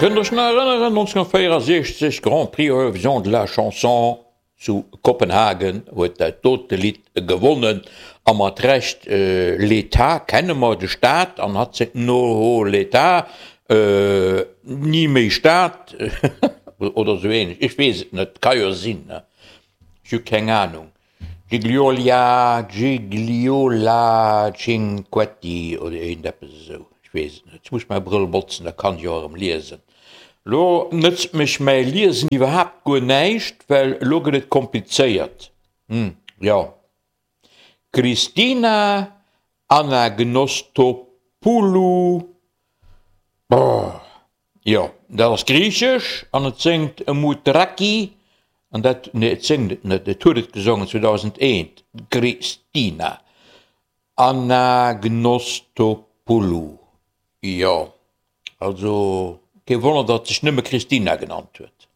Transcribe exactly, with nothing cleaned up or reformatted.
Kënnt der iech nach erënneren, nonzénhunnertvéierundsechzeg, Grand Prix Eurovision de la Chanson zu Kopenhagen, huet dat dote Lidd gewonnen, a mat Recht. L'État kenne mer, de Staat, an hatt séngt No l'État, ni méi Staat, oder esou ähnlech, ech weess et net, ka jo sinn, ne, ech hu keng Anung. Gigliola, Gigliola Cinquetti oder iergendeppes esou, ech weess et net. Ech muss mäi Brëll botzen, da kann ech och erëm liesen. Lo nëtzt mech mäi Liesen iwwerhaapt guer näischt, well elo gëtt et komplizéiert. Hm, jo. Christina Anagnostopoulou, brrr, jo, dat ass griichesch an et séngt Mutraki an dat, nee, et séngt et net, et huet et gesongen zweedausendeent, d'Christina Anagnostopoulou, jo, also kee Wonner, datt sech nëmme Christina genannt huet.